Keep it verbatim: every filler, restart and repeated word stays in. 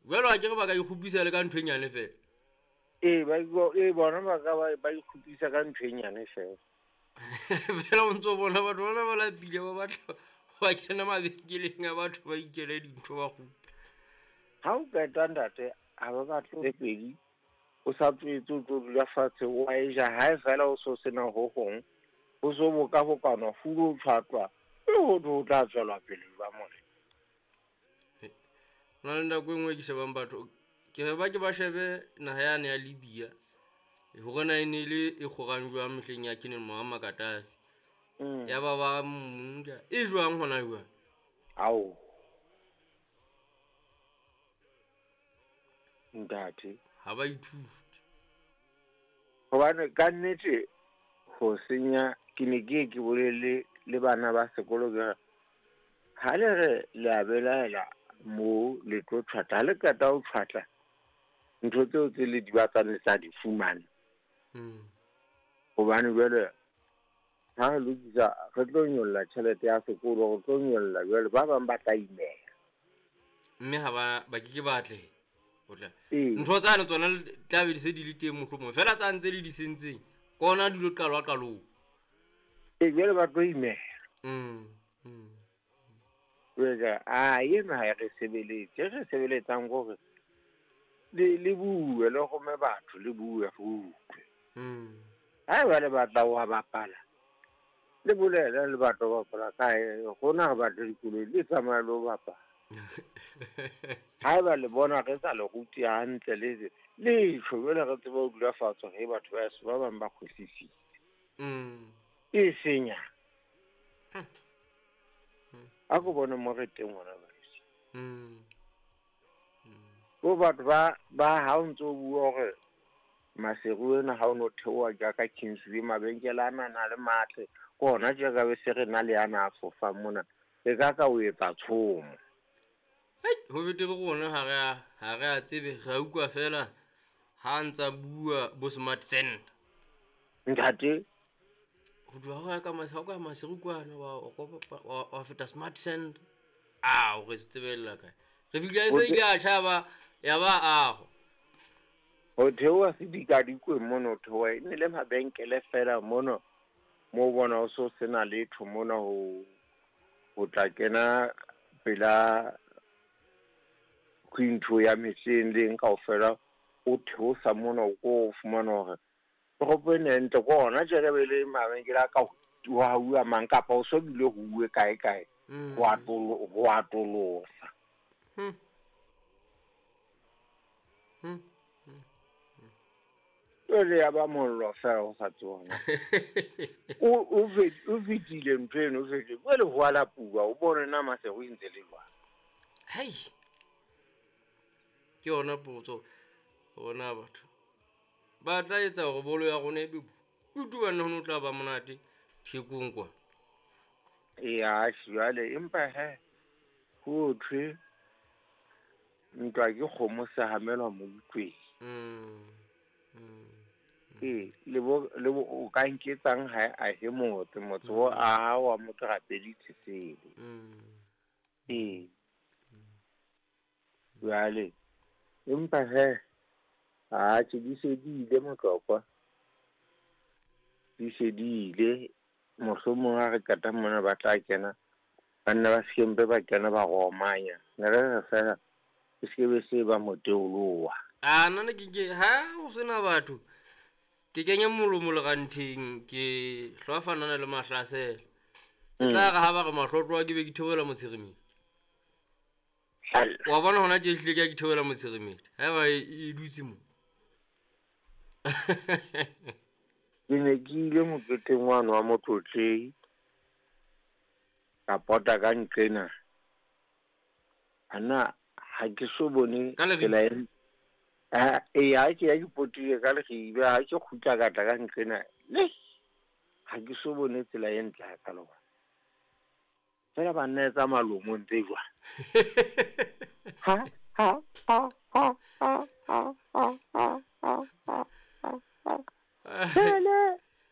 Jwalo a ke re ba ka ikgopisa le ka ntho e nyane fela. Ee, ba ee bona ba ka ba ikgopisa ka ntho e nyane fela. Fela o ntso bona batho bana ba lapile ba batla ba kena mabenkeleng a batho ba ikele dintho ba kgutla. Ha o qeta ntate, ha ba batle tse pedi, o sa tswetse o tlo dula fatshe wa e ja hae fela o so sena ho hong. Ho so boka bokana fulo tshwatlwa e ho ho tla tswela pele ba more. Hona le nako e nngwe ke shebang batho ke re ba ke ba shebe naha yane ya Libya hore na e ne le e kgorang jwang mehleng ya Colonel Muammar Gaddafi. Mm. Ya ba ba mmuda e jwang hona jwang? Ao. Ntate. Ha ba ithute. Hobane ka nnete ho senya ke ne ke ke bolele le bana ba sekolo ke re ha le re le a belaela mo le tlo tshwatla, ha le qeta ho tshwatla ntho tseo tse le di batlang le tla di fumana. Mm. Hobane jwale ha re lokisa re tlo nyolla tjhelete ya sekolo, re tlo nyolla jwale ba bang ba tla imela. Mme ha ba ba ke ke batle ho tla. Ee. Ntho tsane tsona tla be di se di le teng mohlomong fela tsa ntse le di sentseng ke ona di lo qalwa qalong. Ee, jwale ba tlo imela. Mm. Mm. Jwale a ena ha re sebeletse, re sebeletsang hore le le bue le rome batho le bue re utlwe. Mm. Ha eba le batla ho bapala, le bolele le batla ho bapala kae, rona re batla dikoloi le tsamaye le ho bapala. Ha eba le bona re sa le rute hantle le le tjho jwale re tsebe ho dula fatshe re batho ba heso ba bang ba kgwehlisitse. Mm. E senya. Hmm. A ko bone mo re teng hona jwale. Mm. Mm. Bo batho ba ba ha o ntso bua hore Maseru ena ha o no theoha jaaka Kingsway mabenkele ana a na le matle ke hona tje ka be se re na le ana a fofang mona e ka ka o etsa tshomo. Hei, ho betere rona ha re a ha re a tsebe re a utlwa fela ha ntsa bua bo smart center. Ntate ho tloha ho ya ka Maseru ka Maseru kwana wa wa wa feta smart center. Ah, o re tsebella kae? Re fihla e se ile a tjhaba ya ba aho. Ho theoha sedikadikwe mono theoha e ne le mabenkele fela mono mo bona o so sena letho mona ho ho tla kena pela ntho ya mehleng le eng kaofela o theosa mona o ko fumana hore toropo ena e ntle ke hona tje re be le mabenkele a ka ho hauwa mang kapa o so bile ho uwe kae kae ho atolo ho atolosa. Hmm. Hmm. Jwale ya ba mollo fela ho sa tsona. O o o fetile ntho eno, o fetile. Jwale ho a lapuwa, o bone na Maseru e ntse le jwang. Hei. Ke yona potso bona batho. Ba tla etsa hore bolo ya rona e be kutu banna ho no tla ba monate thekong kwa. Ee, atjhe jwale empa he ho thwe ntwa ke kgomo se hamelwa moutlweng. Mm. Mm. Ee, le bo le bo o ka nketsang ha a he motse motse o aha wa motho rapedi tsesele. Mm. Ee. Jwale empa he atjhe di se di ile motlokwa. Di se di ile mohlomong ha re qeta mona ba tla kena banna ba sekempe ba kena ba romanya. Ne re re fela e se be se ba moteoloha. A nna ke ke ha ho sena batho ke kenya molomo lerantheng ke hlwafanana le mahlasela. Ke tla re ha ba re mahlotlo ke be ke theohela motsherimeng. Wa bona hona tje ehlile ke a ke theohela motsherimeng. Ha eba e dutse mo. Ke ne ke ile moketeng wane wa Motlotlehi ka pota ka nqena. Ana ha ke so bone tsela e ha e ha ke ya ke potile ka Leribe ha ke kgutla ka tla ka nqena le ha ke so bone tsela e ntle hakalo. Fela ba nna etsa malomo ntse jwang. Ha ha ha ha ha ha ha ha ha ha. Hele